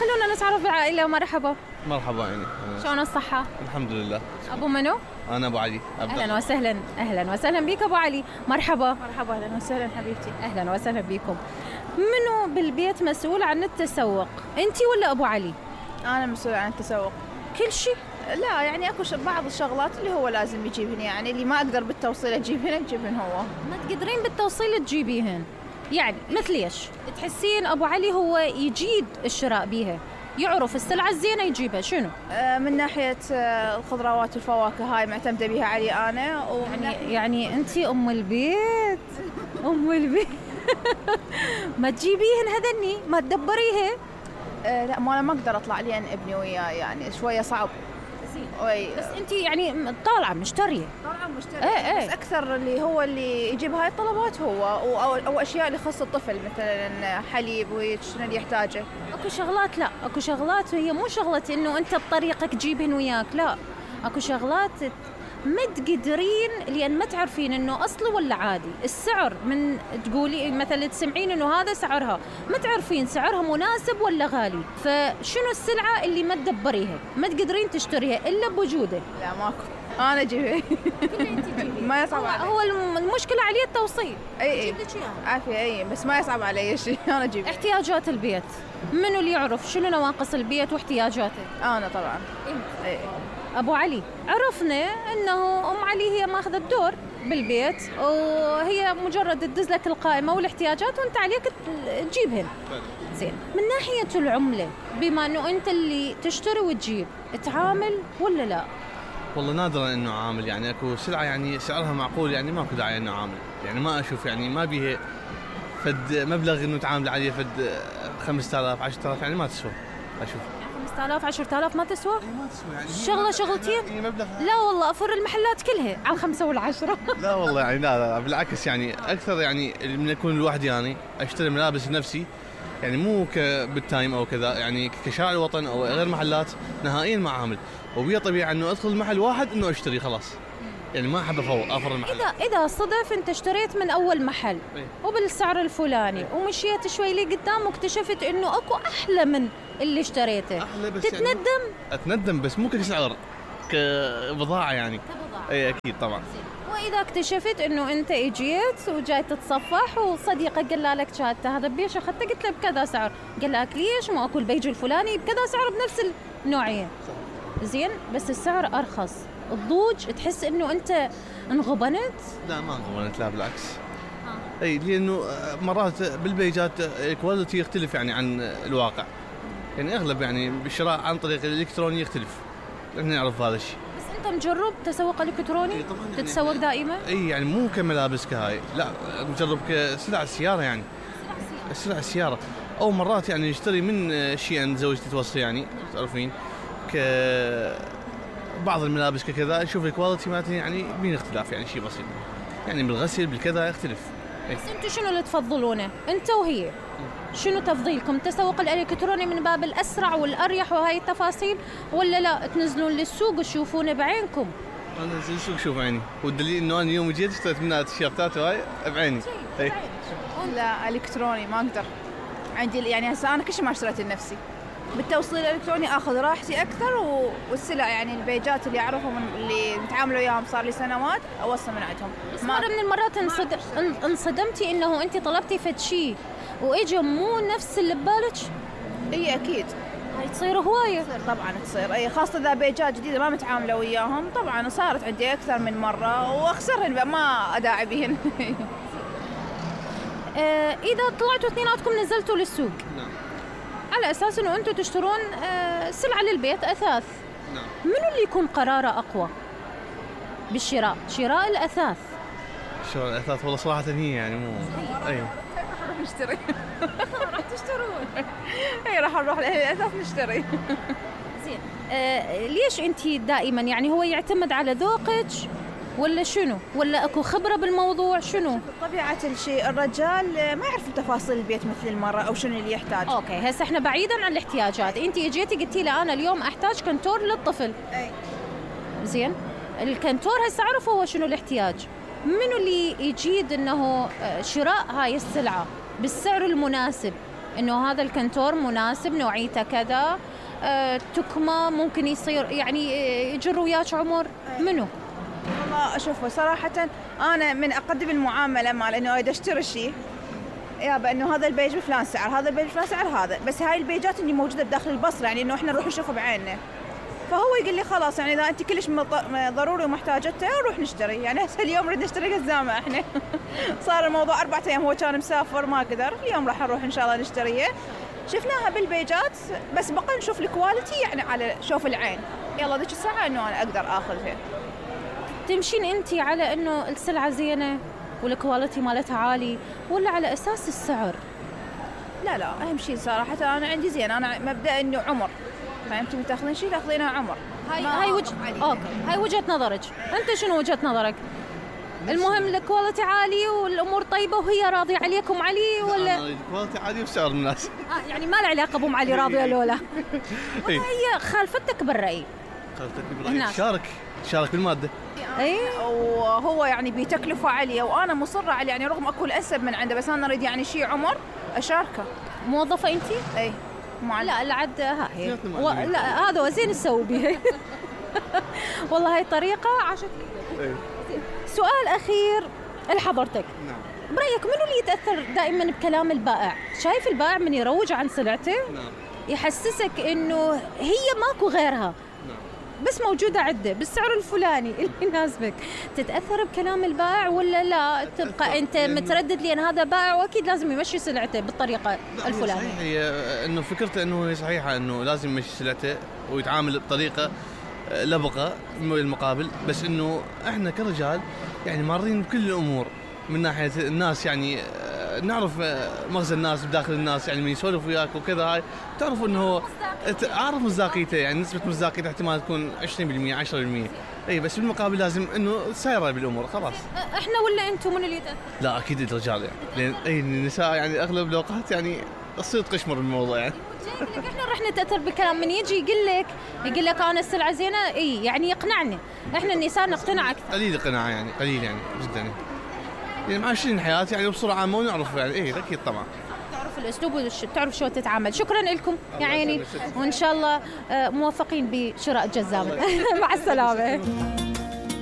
خلونا نتعرف بالعائلة. مرحبا. مرحبا يعني. شلون الصحة؟ الحمد لله. أبو منو؟ أنا أبو علي. أهلا وسهلا. أهلا وسهلا بك أبو علي. مرحبا. مرحبا، أهلا وسهلا حبيبتي. أهلا وسهلا بكم. منو بالبيت مسؤول عن التسوق؟ أنتي ولا أبو علي؟ أنا مسؤول عن التسوق كل شيء؟ لا يعني أكو بعض الشغلات اللي هو لازم يجيبهن، يعني اللي ما أقدر بالتوصيل أجيبهن هو. ما تقدرين بالتوصيل تجيبيهن؟ يعني مثل ايش؟ تحسين أبو علي هو يجيد الشراء بيها، يعرف السلعة الزينة يجيبها، شنو؟ من ناحية الخضروات والفواكه هاي معتمدة بيها علي أنا. يعني أنتي أم البيت. أم البيت. ما تجيبيهن هذني، ما تدبريها. لا ما أنا ما أقدر أطلع لين ابني وياه، يعني شوية صعب. بس أنتي يعني طالعة مشترية. بس أكثر اللي يجيب هاي الطلبات هو أو أشياء اللي خاصة الطفل، مثلا حليب وشنو اللي يحتاجه. أكو شغلات هي مو شغلة إنه أنت بطريقك تجيبهن وياك، لا أكو شغلات ما تقدرين لأن ما تعرفين إنه أصلي ولا عادي. السعر من تقولي مثلا تسمعين إنه هذا سعرها، ما تعرفين سعرها مناسب ولا غالي، فشنو السلعة اللي ما تدبريها ما تقدرين تشتريها إلا بوجوده. لا ماكو، أنا أجيبها. ما يصعب علي. هو المشكلة عليه التوصيل. أي عافية. بس ما يصعب علي شيء، أنا أجيبها. احتياجات البيت منو اللي يعرف شنو نواقص البيت واحتياجاته؟ أنا طبعا. أبو علي، عرفنا أنه أم علي هي ماخذة الدور بالبيت، وهي مجرد تدز لك القائمة والاحتياجات وأنت عليك تجيبهن. زين، من ناحية العملة بما أنه أنت اللي تشتري وتجيب، تعامل ولا لا؟ والله نادرا انه عامل، يعني اكو سلعه يعني سعرها معقول، يعني ماكو داعي انه عامل، يعني ما اشوف يعني ما بيها فد مبلغ انه تعامل عليه فد 5000 10000 يعني ما تسوى اشوف. 5000 10000 ما تسوى؟ ما تسوى يعني شغله شغلتين. مبلغ. لا والله افر المحلات كلها على الخمسة والعشرة. لا والله يعني لا بالعكس، يعني اكثر يعني من يكون لوحدي يعني اشتري ملابس لنفسي، يعني مو بالتايم او كذا، يعني كشارع الوطن او غير محلات نهائيا ما عامل، وبيا طبيعي انه ادخل محل واحد انه اشتري خلاص، يعني ما احب افر المحل. اذا صدف انت اشتريت من اول محل وبالسعر الفلاني ومشيت شوي لي قدام واكتشفت انه اكو احلى من اللي اشتريته، تتندم؟ يعني اتندم بس مو كسعر، كبضاعه يعني. اي اكيد طبعا. واذا اكتشفت انه انت اجيت وجاي تتصفح وصديقك قال لك شهادته هذا بيش اخذته، قلت له بكذا سعر، قال لك ليش ما اكل بيج الفلاني بكذا سعر بنفس النوعيه. زين، بس السعر ارخص، الضوج تحس انه انت انغبنت؟ لا ما انغبنت، لا بالعكس. اي لانه مرات بالبيجات الكواليتي يختلف يعني عن الواقع، يعني اغلب يعني بالشراء عن طريق الالكتروني يختلف، احنا نعرف هذا الشيء. بس انت مجرب تسوق الكتروني؟ تتسوق دائما؟ اي يعني مو كملابس كهاي، لا مجرب كسلع السياره، يعني سلع السياره، او مرات يعني نشتري من شيء عند زوجتي توصي، يعني تعرفين بعض الملابس كذا نشوف الكواليتي مالتها يعني بين اختلاف، يعني شيء بسيط، يعني بالغسل بالكذا يختلف. بس انتم شنو اللي تفضلونه انت وهي؟ شنو تفضيلكم؟ تسوق الالكتروني من باب الاسرع والاريح وهاي التفاصيل، ولا لا تنزلون للسوق وتشوفونه بعينكم؟ انا انزل السوق شوف عيني، والدليل انه انا اليوم جيت اشتريت منها تيشيرتات وهاي بعيني. لا الكتروني ما اقدر، عندي يعني هسه انا كل شيء ما اشتريت لنفسي، بالتوصيل الالكتروني اخذ راحتي اكثر، والسلع يعني البيجات اللي اعرفهم اللي نتعامل وياهم صار لي سنوات اوصل من عندهم. بس مرة من المرات انصدمتي انه انت طلبتي فد شيء واجى مو نفس اللي ببالك؟ اي اكيد هاي تصير هوايه. طبعا تصير، اي خاصه اذا بيجات جديده ما متعامله وياهم، طبعا صارت عندي اكثر من مره واخسرهن ما اداعي بهن. اذا طلعتوا اثنيناتكم نزلتوا للسوق، نعم، على اساس انه انتم تشترون سلعه للبيت اثاث، نعم، منو اللي يكون قراره اقوى بالشراء؟ شراء الاثاث. شراء الاثاث والله صراحه هي يعني مو ايوه راح نشتري. راح تشترون؟ اي راح نروح للاثاث نشتري. زين، ليش انت دائما يعني هو يعتمد على ذوقك ولا شنو؟ ولا اكو خبره بالموضوع شنو؟ طبيعه الشيء الرجال ما يعرف تفاصيل البيت مثل المراه او شنو اللي يحتاج. اوكي، هسه احنا بعيدا عن الاحتياجات، انت اجيتي قلتي لي انا اليوم احتاج كنتور للطفل. اي زين، الكنتور هسه اعرف هو شنو الاحتياج، منو اللي يجيد انه شراء هاي السلعه بالسعر المناسب انه هذا الكنتور مناسب، نوعيته كذا، تكمه ممكن يصير يعني يجر وياك عمر. منو؟ والله شوفوا صراحة أنا من أقدم المعاملة مال إنه أريد أشتري شيء يابا إنه هذا البيج بفلان سعر، هذا البيج بفلان سعر، هذا بس هاي البيجات اللي موجودة بداخل البصرة، يعني إنه إحنا نروح نشوفه بعيننا. فهو يقول لي خلاص يعني إذا أنت كلش ضروري ومحتاجته نروح نشتري. يعني هسه اليوم نريد نشتري قزامة إحنا صار الموضوع 4 أيام هو كان مسافر ما قدر، اليوم راح نروح إن شاء الله نشتريه. شفناها بالبيجات بس بقى نشوف الكواليتي يعني على شوف العين. يلا ذيك الساعة إنه أنا أقدر آخذها. تمشين انت على انه السلعه زينه والكواليتي مالتها عالي، ولا على اساس السعر؟ لا اهم شيء صراحه انا عندي زين، انا مبدا انه عمر، فهمتي تاخذين شيء تاخذينه عمر. هاي وجهه نظرك. انت شنو وجهه نظرك؟ المهم الكواليتي عالي والامور طيبه وهي راضيه عليكم علي، ولا الكواليتي عالي وسعر مناسب؟ يعني ما له علاقه بام علي راضيه لولا. هي خالفتك بالراي. شارك بالماده. اي وهو يعني بتكلفه عاليه وانا مصره على يعني رغم اكل اسب من عنده، بس انا اريد يعني شيء عمر اشاركه. موظفه انت؟ اي لا العد ها هي لا هذا زين تسوي بها. والله هاي طريقه عاشت. سؤال اخير لحضرتك. نعم. برايك منو اللي يتاثر دائما بكلام البائع؟ شايف البائع من يروج عن سلعته يحسسك انه هي ماكو غيرها، بس موجودة عدة بالسعر الفلاني اللي يناسبك. تتأثر بكلام البائع ولا لا تبقى أنت متردد لأن هذا بائع وأكيد لازم يمشي سلعته بالطريقة الفلانية؟ صحيح، هي إنه فكرته إنه هي صحيحة إنه لازم يمشي سلعته ويتعامل بطريقة لبقة المقابل، بس إنه إحنا كرجال يعني مارين بكل الأمور من ناحية الناس، يعني نعرف مغزى الناس بداخل الناس، يعني من يسولف وياك وكذا هاي تعرف انه عارف مصداقيته، يعني نسبة مصداقيته احتمال تكون 20% 10%. اي بس بالمقابل لازم انه سايره بالامور خلاص. احنا ولا انتم من اللي يتأثر؟ لا اكيد الرجال، يعني لان اي النساء يعني اغلب الاوقات يعني تصير تقشمر بالموضوع. يعني احنا راح نتأثر بالكلام من يجي يقول لك انا السلعة زينة، اي يعني يقنعني. احنا النساء نقتنع اكثر. قليل قناعة، يعني قليل يعني جدا، يعني معاشرين الحياة يعني بصورة عامة ونعرف يعني ايه اكيد طبعا تعرف الاسلوب وتعرف شو تتعامل. شكرا لكم يا عيني، وان شاء الله موفقين بشراء الجزامة. مع السلامة.